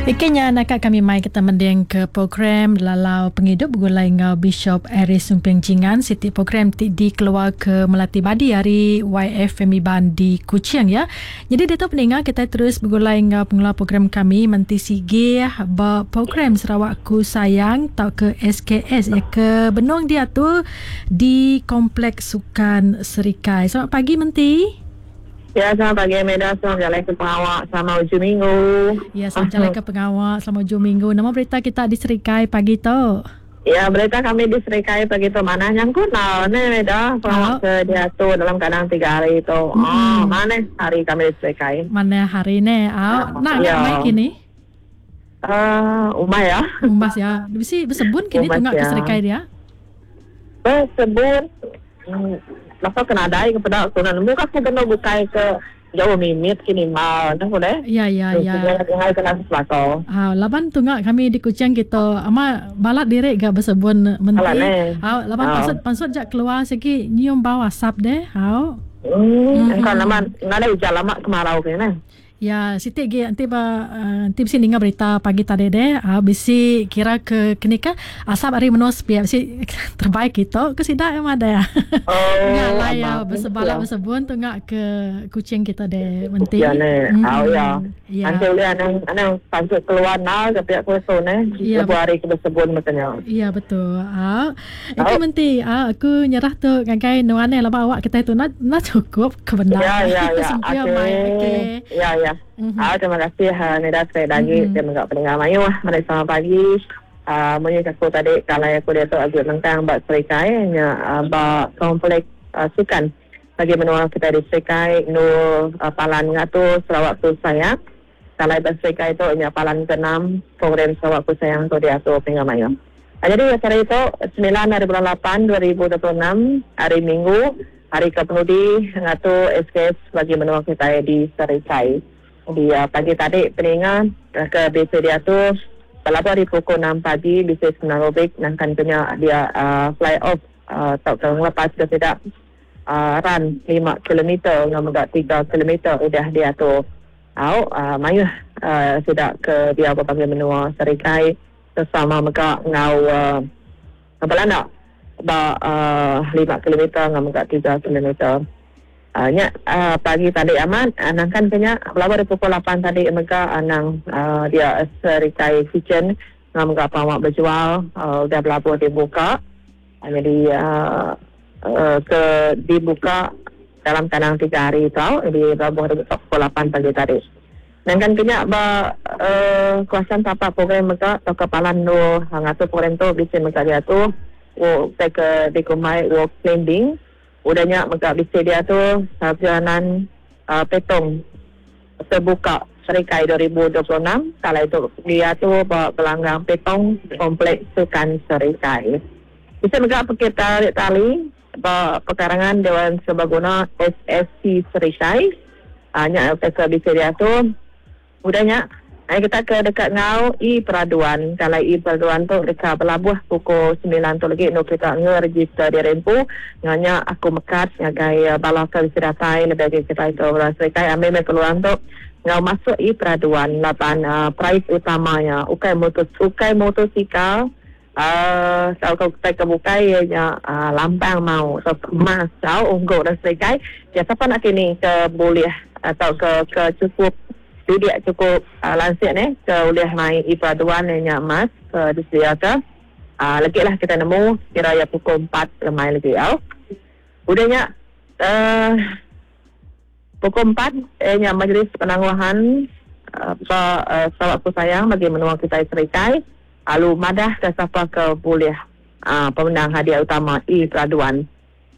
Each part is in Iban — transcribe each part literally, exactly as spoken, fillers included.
Ikan nak kami mai kita mending ke program Lalau Pengidup begulai ngau Bishop Aris Sumping Jingan, siti program ti dikeluar ke Melati Badi hari Y F M Iban di Kuching ya. Jadi dia tu pendengar kita terus begulai ngau pengelola program kami Menti Sige ba program Sarawakku Sayang tau ke S K S ya ke benung dia tu di Kompleks Sukan Serikai. Selamat pagi Menti. Ya, selamat pagi Amanda, selamat jalan ke pengawak selama hujung minggu. Ya, selamat jalan ke pengawak selama hujung minggu. Nama berita kita di Serikai pagi tu? Ya, berita kami di Serikai pagi tu mana nyangkut lah. Ni Amanda, pengawak oh. ke dia tu dalam keadaan tiga hari tu. Hmm. Oh, mana hari kami di Serikai? Mana hari ni? Oh, nak ya. Mai kini? Uh, umai ya. Umbas ya. Bisi bersebun kini tunggak ya. Ke Serikai dia? Bersebun. Hmm. Masa kena dai kepada aku nak muka aku kena bukai ke jauh mimit kini mau nak boleh? Ya ya ya. Hai kena sesuatu. Ah laban tunggak kami di Kuching kita ama balat direk gak bersebun menteri. Ah laban pansut pansut jak keluar segi nyium bau asap deh. Hau. Hmm, engkau lama ngada hujan lama kemarau kene. Ya, siti gi nanti ba nanti bisi ninga berita pagi tadi deh. Ah bisi kira ke kenika asap hari menos biar bisi terbaik kita ke sidak em ada. Oh, ngalah ya bersebala bersebun tu ngak ke Kuching kita deh menti. Ya ne. Oh ya. Nanti boleh anang anang pansut keluar nah ke pihak kuasa ne. Lebuh hari ke bersebun makanya. Ya betul. Ah itu menti ah aku nyerah tu ngagai nuane laba awak kita tu nak nak cukup kebenaran. Ya ya ya. Okey. Ya ya. Mm-hmm. Ah, terima kasih uh, Nida sekali lagi mm-hmm. Terima kasih pendengar mayu. Mari selamat pagi. Uh, Munyi aku tadi kalau aku dia tu agak lengkang buat Serikai nya uh, bak komplek uh, sukan bagi menua kita di Serikai nu uh, palan ngatu Sarawakku Sayang. Kalau Serikai tu nya palan keenam program Sarawakku Sayang tu diatur pendengar mayu. Uh, jadi acara itu sembilan hari bulan lapan dua ribu dua puluh enam hari Minggu hari kepenudi ngatu S K S bagi menua kita di Serikai. Di uh, pagi tadi peningan ke B C dia tu kalau hari pukul enam pagi B C Senarobik nangkan punya dia uh, fly off uh, tak uh, lepas ke tidak uh, run lima kilometer ngam agak tiga kilometer udah dia tu au uh, mayuh uh, sudah ke dia apa panggil menua Serikai bersama mega ngau uh, apa lah nak ba uh, lima kilometer ngam agak tiga kilometer. Uh, nya uh, pagi tadi amat anang kan kena berapa pukul lapan tadi mega anang uh, dia Serikai Kitchen ngam ga pawak berjual uh, dah berlabuh dibuka uh, jadi uh, uh, ke dibuka dalam tanang tiga hari tau jadi berlabuh dibuka pukul lapan pagi tadi. Dan kan kena ba uh, kawasan tapak program mega atau kepalan nu ngatur program tu bisa mega dia tu wo ke dikumai walk climbing. Udahnya mega bisa dia tu perjalanan uh, petong terbuka Serikai dua ribu dua puluh enam. Kalau itu dia tu bawa pelanggang petong kompleks Sukan Serikai. Bisa mega pergi tarik tali bawa pekarangan Dewan Serbaguna S S C Serikai. Hanya uh, ke bisa dia tu. Udahnya Ayo kita ke dekat ngau i peraduan. Kalau i peraduan tu dekat berlabuh pukul sembilan tu lagi nu kita ngeregister di rempu. Nganya aku mekat ngagai bala ke sedatai lebih kita itu Serikai ambil me peluang tu ngau masuk i peraduan lapan uh, prize utamanya ukai motor ukai motosikal uh, sau kau kita ke bukai nya uh, lampang mau so emas sau unggul dan Serikai. Ya siapa nak kini ke boleh atau ke ke cukup dia cukup uh, langsir ni ke oleh main i peraduan nya emas ke disediakan. Uh, lagi lah kita nemu kira ya pukul empat lemai lagi au. Udahnya uh, pukul empat eh nya majlis penangguhan uh, uh, Sarawakku Sayang bagi menua kita Serikai alu madah ke siapa ke boleh uh, pemenang hadiah utama i peraduan.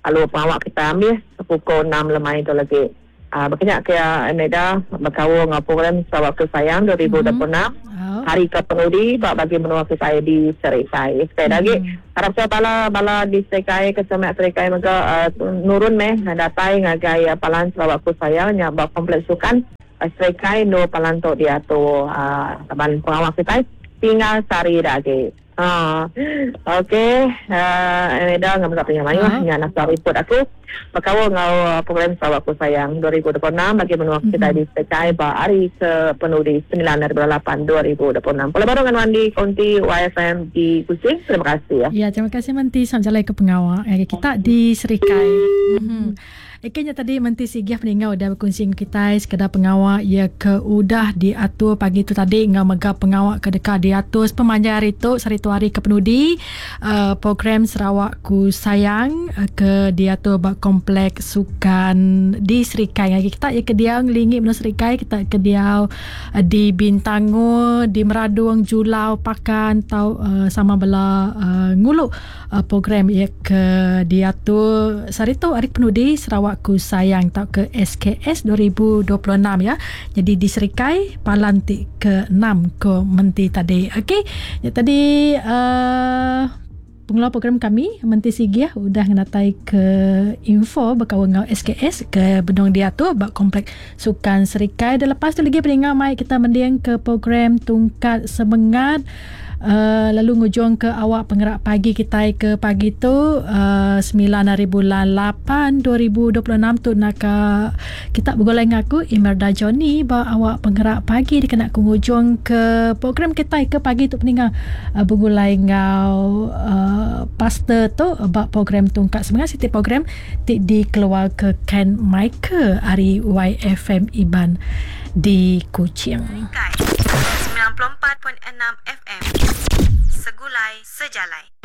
Alu pengawak kita ambil pukul enam lemai tu lagi. Uh, berkenyak ke Ameda berkawal dengan program Sarawakku Sayang dua ribu dua puluh enam mm-hmm. hari kepenudi bagi menua kita di Serikai. Sekali mm-hmm. lagi harap saya bala bala di Serikai kesemak Serikai maka uh, nurun meh datai ngagai uh, palan Sarawakku Sayang nya bak kompleks sukan uh, Serikai no palan tu dia tu uh, taban pengawal kita tinggal sari lagi. Ha. Okey, uh, Eda ngam gak punya mayuh nya nak report aku. Bakawa ngau program Sarawak Ku Sayang dua ribu dua puluh enam bagi menua kita di Sekai ba hari ke penudi sembilan hari bulan lapan dua ribu dua puluh enam. Kalau baru dengan Wandi Konti Y F M di Kuching. Terima kasih ya. Ya, terima kasih Menti sampai jalan ke pengawal. Ya, kita di Serikai. Mm-hmm. Ikannya tadi Menti Sigiah peninggal udah berkongsi dengan kita sekadar pengawal ia ke udah diatur pagi tu tadi ngau mega pengawal ke dekat diatur sepanjang hari tu sehari tu hari ke penudi uh, program Sarawak Ku Sayang uh, ke diatur ba kompleks sukan di Serikai. Lagi kita ia ke dia ngelingi menua Serikai, kita ke dia uh, di Bintango, di Meradung, Julau, Pakan tau uh, sama bela uh, nguluk uh, program ia ke diatur sehari tu hari penudi Sarawak Ku Sayang tau ke S K S dua ribu dua puluh enam ya. Jadi di Serikai palantik ke enam ke menti tadi. Okey, ya tadi uh, pengelola program kami Menti Sigiah udah ngenatai ke info berkawan dengan S K S ke Benong Diatur bak komplek Sukan Serikai. Dan lepas tu lagi pendengar mai kita mendiang ke program Tungkat Semengat. Uh, lalu ngujung ke awak penggerak pagi kita ke pagi tu uh, sembilan hari bulan lapan dua ribu dua puluh enam tu nak kita bergolai dengan aku Imelda Johnny ba awak penggerak pagi dikena ku ngujung ke program kita ke pagi tu peninggal uh, bergulai ngau uh, pastor tu bab program Tungkat Semangat siti program ti dikeluar ke Ken Michael hari Y F M Iban di Kuching. sembilan puluh empat perpuluhan enam F M Segulai Sejalai.